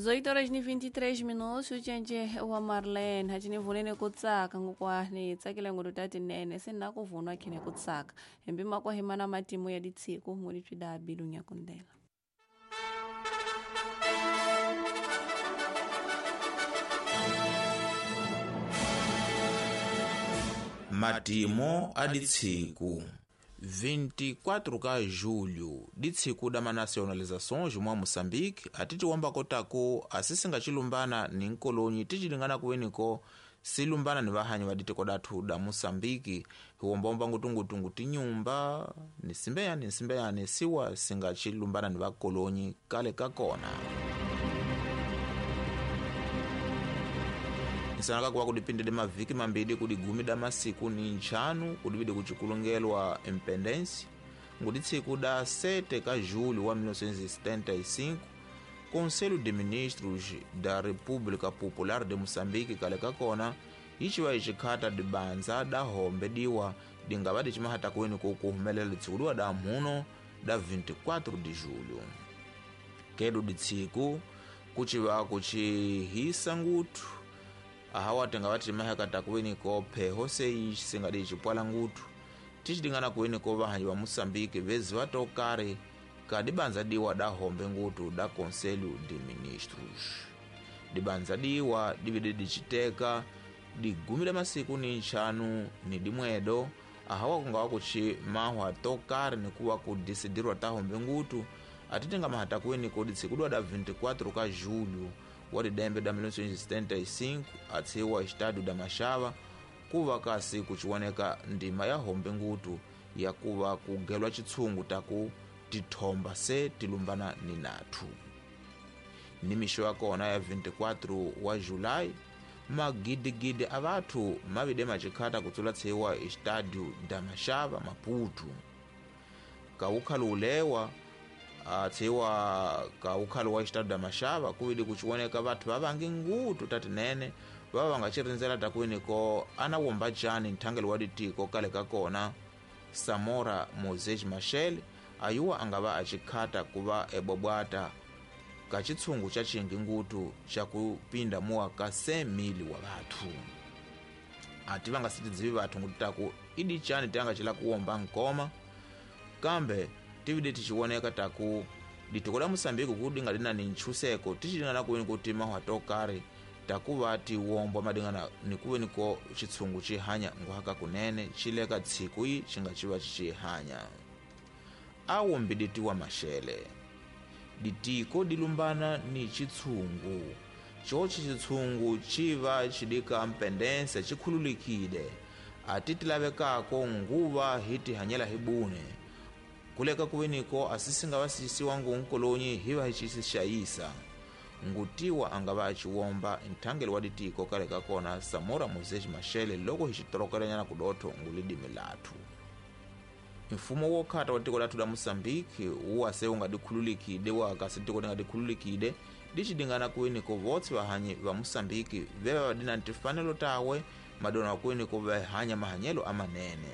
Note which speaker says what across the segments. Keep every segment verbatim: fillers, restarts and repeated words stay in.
Speaker 1: Oito horas ni vinte e três minutos ucenje wa Marlene hachini vunene kutsaka ngukwani tsakile ngulu tatinene sina kuvunwa khine kutsaka hembi makwahimana matimu ya ditsiku nguli twida bilunya kundela.
Speaker 2: Matimo a ditsiku vinte e quatro ka julho ditsiku da manacionalizações mwa Moçambique atitiwamba kotako asisingacilumbana ni nkolonyi ticilingana kuweniko silumbana ni vahanyi va ditiko dathu da Moçambique hiwombomba ngutungutungu tinyumba ni simbeyani nsimbeyani siwa singacilumbana ni vakolonyi kale ka kona. Nsanaka kuwa kudipindile maviki mambili kudigumi da masiku ni nchanu kudivide kuchikulungelwa independência nguditsiku da sete ka julho wa mil novecentos e setenta e cinco Conselho de Ministros da República Popular de Moçambique kale kakona iciwa icikhata dibanza da hombe diwa dingava dicimahata kuweni kukuhumelela litsiku da mhuno da vinte e quatro de julho. Kedu ditsiku kuciva kucihisa ngutu ahawa tingava timahekata kuweniko pheho sei singadi cipwala ngutu ticidingana kuweniko vahanyi va Moçambique veziva tokari ka dibanza diwa da hombe ngutu da Conselho de Ministros. Dibanza diwa divide diciteka digumi da masiku ni nxanu ni dimwedo ahawa kungawa kuci mahwa tokari nikuwa kudisidirwa ta hombe ngutu atitinga mahata kuweniko ditsikudwa da vinte e quatro ka julho wa didembe da mil novecentos e setenta e cinco atsiwa estádio da Machava kuva kasi kuciwoneka ndima ya hombe ngutu ya kuva kugelwa chitsungu taku tithomba se tilumbana ni nathu. Ni mixo ya kona ya vinte e quatro wa Julai magidigidi a vathu mavide macikhata kutsula tsiwa estádio da Machava Maputo. Kawukhalo ulewa atsiwa kaukhalo wa estádio da Machava kuvidi kuciwoneka vathu vavangi ngutu tatinene vava vangacirindzela takuweniko ana womba cani nthangelo wa ditiko kale ka kona Samora Moses Machel ayuwa angava acikhata kuva ebobwata ka citsungu ca cingi ngutu ca kupinda muwa ka cem mil wa vathu. Ati vangasitidzivi vathu ngutu taku idi cani tiangacila kuwomba nkoma kambe tivide ticiwoneka taku ditiko la Moçambique kudinga lina ni nchuseko ticidingana kuweni kuti mahwa tokari takuva tiwombwa madingana nikuweniko chitsungu cihanya nguhaka kunene cileka tsiku yi cingaciva cicihanya. Awo mbiditiwa Machele ditiko dilumbana ni chitsungu coci chitsungu civa cidika mpendência cikhululikile atitilavekako nguva hitihanyela hibune kuleka kuweniko asisinga vasisiwa ngunkolonyi hiva hicisixayisa ngutiwa angava aciwomba nthangelo wa ditiko kale kakona Samora Moses Machel loko hicitorokelanyana kudotho ngulidimi lathu. Mfumo wokhata wa tiko lathu la Moçambique uwase ungadikhululikide wakasi tiko lingadikhululikide dicidingana kuweniko votse vahanyi va Moçambique veva vadina ntifanelo tawe madona kuweniko vahanya mahanyelo amanene.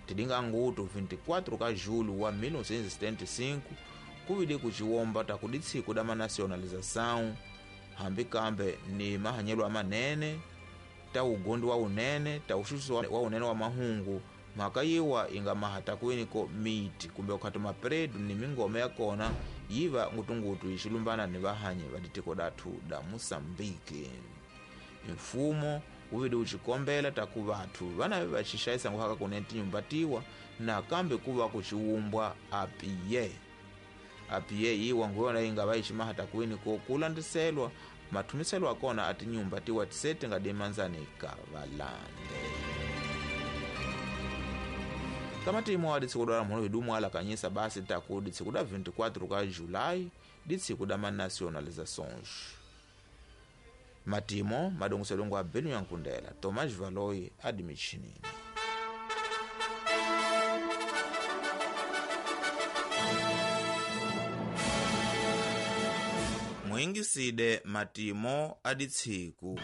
Speaker 2: Tidinga ngutu vinte e quatro ka julho wa mil novecentos e setenta e cinco kuvide kuciwomba takuditsiku da manacionalização hambi kambe ni mahanyelo amanene ta ugondi wa unene ta uxuxuso wa unene wa mahungu mhaka yiwa inga mahata kuweniko miti kumbe ukhati mapredu ni mingome ya kona yiva ngutungutu ixilumbana ni vahanyi va ditiko dathu da Moçambique. Mfumo uvide ucikombela taku vathu vana vacixayisa nguhaka kunene tinyumba tiwa nakambe kuva kuciwumbwa apiye apiye yiwa nguyona inga vaiximahata kuweniko kulandiselwa mathumiselwa akona a tinyumba tiwa tisete nga dimanzani ka valande. Kamatimo wa ditsiku da mhuno hidumu alakanyisa basi taku ditsiku da vinte e quatro ka Julai ditsiku da manacionalizações. Matimo madongoselongo a Belu Yankundela Tomás Valoi admichinini. Mwingiside matimo aditsiku.